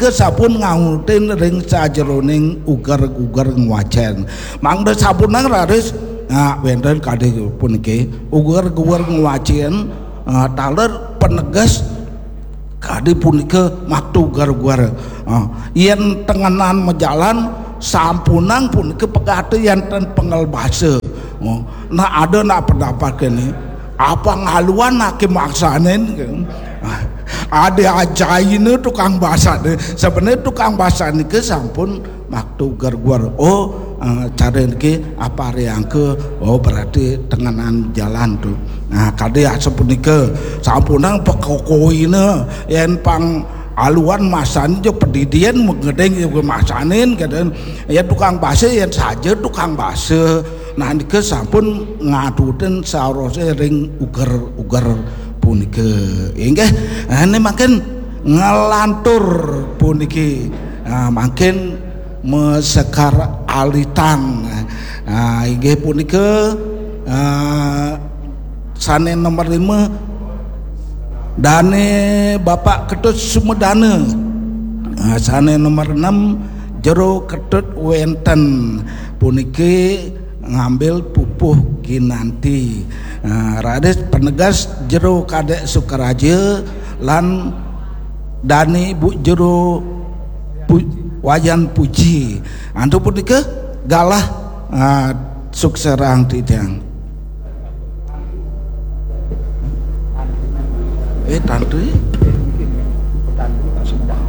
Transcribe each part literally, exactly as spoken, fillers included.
Ke sampun ngautin ring sajeroning uger-uger ngwacen. Mangda sampunang raris, nah, wenten kadi puniki uger-uger ngwacen, ah, taler peneges kadi punika makta uger-uger. Ah, yen tengenan majalan sampunang punika pegati enten pengel basa. Oh, nah, ada nak pendapat kene, apa ngaluan ake maksanin? Ada ajaine tukang basane. Sebenarnya tukang basane ke sampun makta uger-uger. Oh, eh, cara niki apa riangka? Oh, berarti tengenan jalan tuh. Nah, kadi asapunika sampunang pekokoine yen pang aluan masani jo pedidian mengedeng jo masanin kadang ya tukang basa yen saja tukang basa. Nah, nika sampun ngatuten saurose ring uger-uger punika. Inggih, ane mangkin ngelantur puniki. Ah, mangkin mesekar alitang. Ah, inggih punika, ah, sane nomor lima, dane Bapak Ketut Sumedana. Ah, sane nomor enam, Jero Ketut Wenten. Puniki ngambil pupuh ginanti. Ah, raris penegas Jero Kadek Sukaraja lan dane Bu Jero Pu-, Wayan Puji. Antuk punika galah, ah, sukserang titiang. Eh, tantri?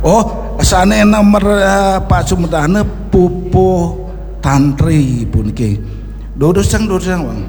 Oh, sane nomor, eh, Pak Sumedana pupuh tantri puniki. Durusang, durusang, Bang.